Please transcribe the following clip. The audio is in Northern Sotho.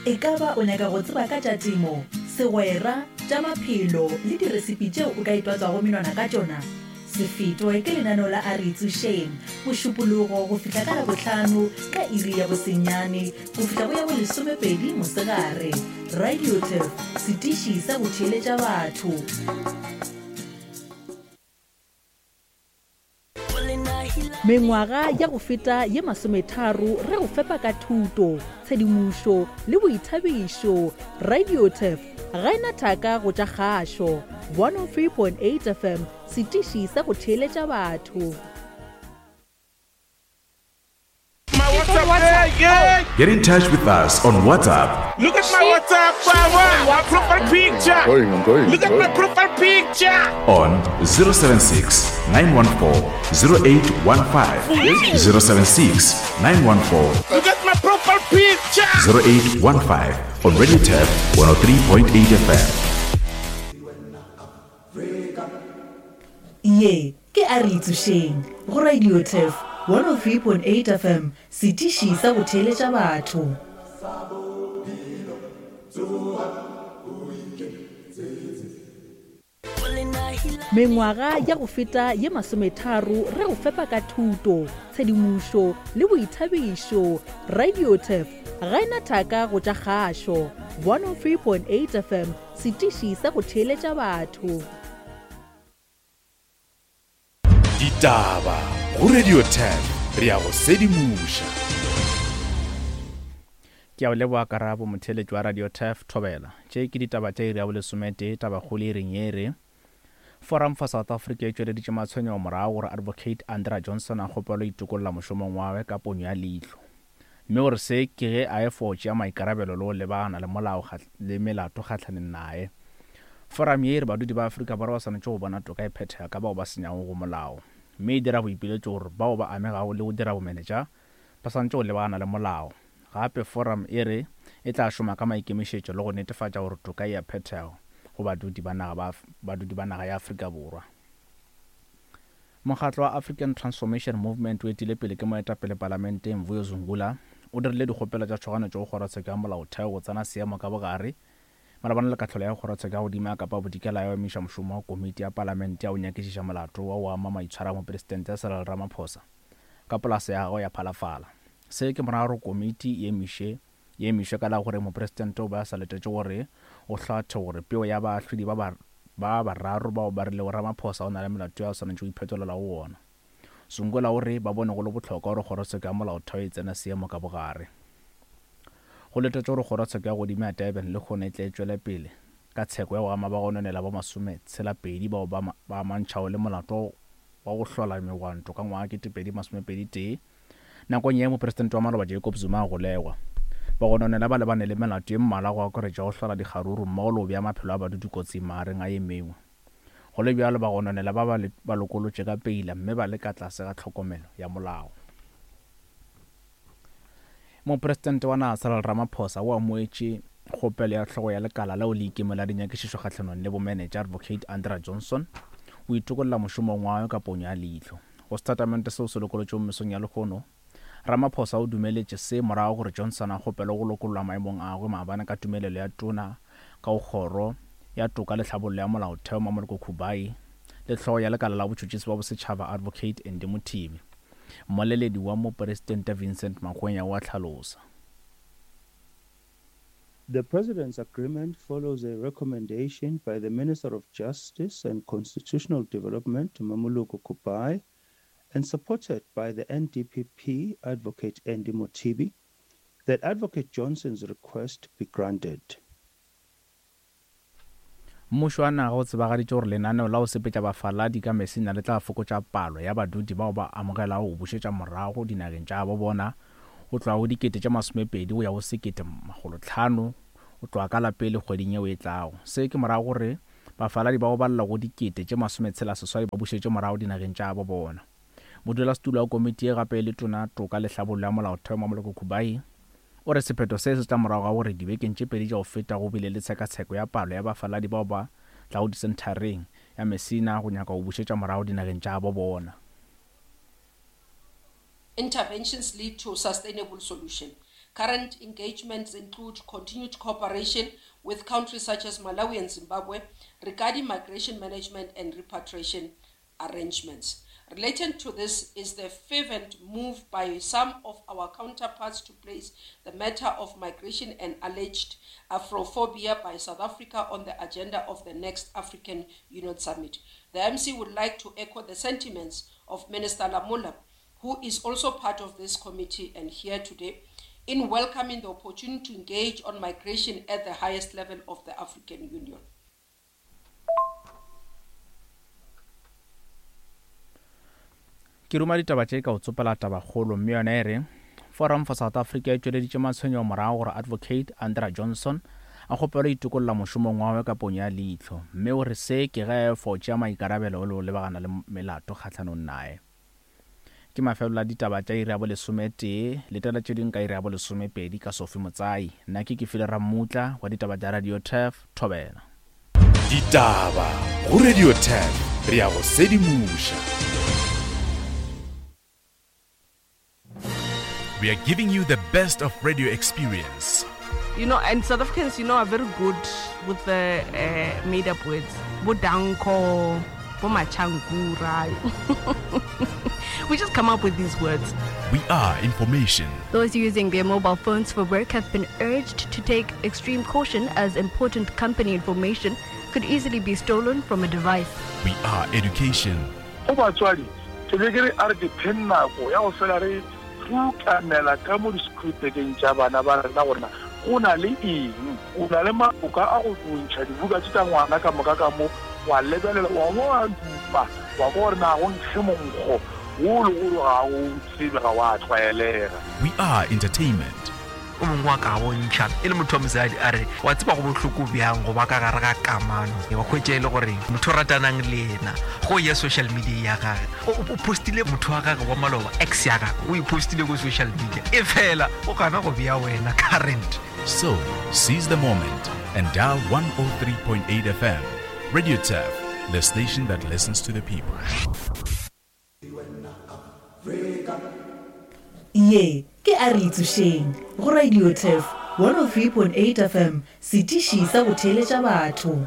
E ka ba o nyaka go tseba ka tša temo, segwera, tša maphelo le diresipi tšeo o ka itwatswago menwana ka tšona? Se fetwe ke lenaneo la A Re Itsošeng, Mošupologo go fihla ka Labohlano ka iri ya bosenyane go fihla go ya bolesomepedi mosegare. Radio Turf, setiši sa go theeletša batho. Mengwaga ya go feta ye masometharo re go fepa ka thuto, tshedimošo le boithabišo. Radio Turf ga e na thaka go tša kgašo. 103.8 FM, setiši sa go theeletša batho. My WhatsApp, yeah, Get in touch with us on WhatsApp. Look at my WhatsApp, my profile picture. I'm going, I'm going. Look at my profile picture. On 076 914 0815. 076 914 Look at my profile picture. 0815 on Radio Tab 103.8 FM. Ye ke A Re Itsošeng go Radio Turf 103.8 FM, setiši sa go theeletša batho. Mengwaga ya go feta ye masometharo re go fepa ka thuto, tshedimošo le boithabišo. Radio Turf ga e na thaka go tša kgašo. 103.8 FM, setiši sa go theeletša batho. Ditaba go Radio 10 re a go sedimoša. Ke a o leboga Karabo, motheeletši wa Radio Turf, Thobela. Tše ke ditaba tša iri ya bolesometee, tabakgolo e reng ye re, Forum for South Africa e tšweleditše matshwenyego morago gore Advocate Andrea Johnson a kgopelwe itokolla mošomong wa gagwe ka ponyo ya leihlo. Mme o re se ke ge a efo tšea maikarabelo le go lebagana le molao le melato kgahlaneng naye. Forum ye e re badudi ba Afrika Borwa ba swanetše go bona toka e phethega ka bao ba senyago go molao, mme e dira boipiletšo gore bao ba amegago le go dira bomenetša ba swanetše go lebagana le molao. Gape forum e re e tla šoma ka maikemišetšo le go netefatša gore toka e a phethega go badudi ba naga ba badudi ba naga ya Afrika Borwa. Mokgatlo wa African Transformation Movement o etile pele ke moetapele palamenteng Mvuyo Zungula o dirile dikgopelo tša tšhoganetšo go kgorotsheko ya molaotheo go tsena seemo ka bogare malebana le kahlolo ya kgorotsheko ya godimo ya Kapa Bodikela ya go emiša mošomo wa komiti ya palamente ya go nyakišiša molato wa go ama maitshwaro a mopresidente Cyril Ramaphosa ka polase ya gagwe ya Phalafala. Se ke morago gore komiti e emiše e emišwe ka la gore mopresidente o be a sa letetše gore o hlathe gore peo ya baahlodi ba ba ba bararo bao ba rilego Ramaphosa o na le melato yo a swanetše go iphetolela go wona. Zungula o re ba bone go le bohlokwa gore kgorotsheko ya molaotheo e tsene seemo ka bogare. Go letetšwe gore kgorotsheko ya godimo ya Durban lehono e tle e tšwele pele ka tsheko ya go ama ba go nonela ba masometshela-pedi bao ba ba amantšhago le molato wa go hlola megwanto ka ngwaga 2021 Nakong ye Mopresidente wa maloba Jacob Zuma a golegwa, bagononela ba lebane le melato ye mmalwa go akaretša go hlola dikgaruru mmogo le go bea maphelo a badudi kotsing magareng a ye mengwe. Go le bjalo, bagononela ba ba lokolotšwe ka peila mme ba le ka tlase ga tlhokomelo ya molao. Mopresidente wa naga Cyril Ramaphosa o amoetše kgopelo ya hlogo ya lekala leo le ikemego la dinyakišišo kgahlanong le bomenetša Advocate Andrea Johnson o itokolla mošomong wa gagwe ka ponyo ya leihlo. Go setatamente seo se lokolotšwego mesong ya lehono, Ramaphosa o dumeletše se morago gore Johnson a kgopelwe go lokollwa maemong a gagwe maabane ka tumelelo ya Tona ka go Kgoro ya Toka le Tlhabollo ya Molaotheo Mamoloko Kubayi le Hlogo ya Lekala la Botšhotšhisi bja Bosetšhaba Advocate Andy Mothibi. Mmoleledi wa Mopresidente Vincent Magwenya o a hlalosa. The President's agreement follows a recommendation by the Minister of Justice and Constitutional Development, Mamoloko Kubai, and supported by the NDPP Advocate Andy Mothibi, that Advocate Johnson's request be granted. Mmušo wa naga o tsebagaditše gore lenaneo la go sepetša bafaladi ka Messina le tla fokotša palo ya badudi bao ba amogelago go bušetša morago dinageng tša gabo bona go tloga go 20,000 go ya go 1,500 go tloga ka la pele kgweding yeo e tlago. Se ke morago gore bafaladi ba go balelwa go 68,000 ba bušetšwe morago dinageng tša gabo bona. Modulasetulo wa komiti ye gape e le Tona Toka le Hlabollo ya Molaotheo Mamoloko Kubayi O re sephetho se se tla morago ga gore dibekeng tše pedi tša go feta go bile le tshekatsheko ya palo ya bafaladi bao ba tlago disenthareng ya Messina go nyaka go bušetša morago dinageng tša gabo bona. Interventions lead to sustainable solution. Current engagements include continued cooperation with countries such as Malawi and Zimbabwe regarding migration management and repatriation arrangements. Related to this is the fervent move by some of our counterparts to place the matter of migration and alleged Afrophobia by South Africa on the agenda of the next African Union Summit. The MC would like to echo the sentiments of Minister Lamola, who is also part of this committee and here today, in welcoming the opportunity to engage on migration at the highest level of the African Union. Ke ruma ditaba tše ka go tsopela tabakgolo mme yona e re Forum for South Africa e tšweleditše matshwenyego morago gore Advocate Andra Johnson a kgopelwe itokolla mošomong wa gagwe ka ponyo ya leihlo mme o re se ke ge a fo tšea maikarabelo le go lebagana le melato kgahlanong naye. Ke mafelelo a ditaba tša iri ya bolesometee. Letela tše dingwe ka iri ya bolesomepedi ka Sophie Motsai. Nna ke Kefile Rammutla wa ditaba tša Radio Turf, Thobela. Ditaba go Radio Turf, re a go sedimoša. We are giving you the best of radio experience. You know, and South Africans, you know, are very good with the uh, made up words. Bodanko, Bomachankura. we just come up with these words. We are information. Those using their mobile phones for work have been urged to take extreme caution as important company information could easily be stolen from a device. We are education. Go batswadi, ke be ke re a re dipheng nako ya go fela re rutamela ka mo disekhurupekeng tša bana ba rena gore na go na le eng. O na le maloka a go ntšha dibuka tše tša ngwana ka moka ka mo, wa lebelela, wa ba wa dupa, wa kwa gore na go nkge monkgo wo le gore ga o tsebe, ga wa tlwaelega. We are entertainment. O mongwe wa ka bontšha e le motho wa mosadi a re, Wa tseba go bohloko bjang go ba ka gare ga kamano, wa hwetša e le gore motho o ratanang le yena go ya social media ya gage o postile motho wa gage wa maloba, ex ya gage o e postile ko social media, e fela o gana go bea wena current. So, seize the moment and dial 103.8 FM. Radio Turf, the station that listens to the people. Ye ke A Re Itsošeng go Radio Turf 103.8 FM, setiši sa go theeletša batho.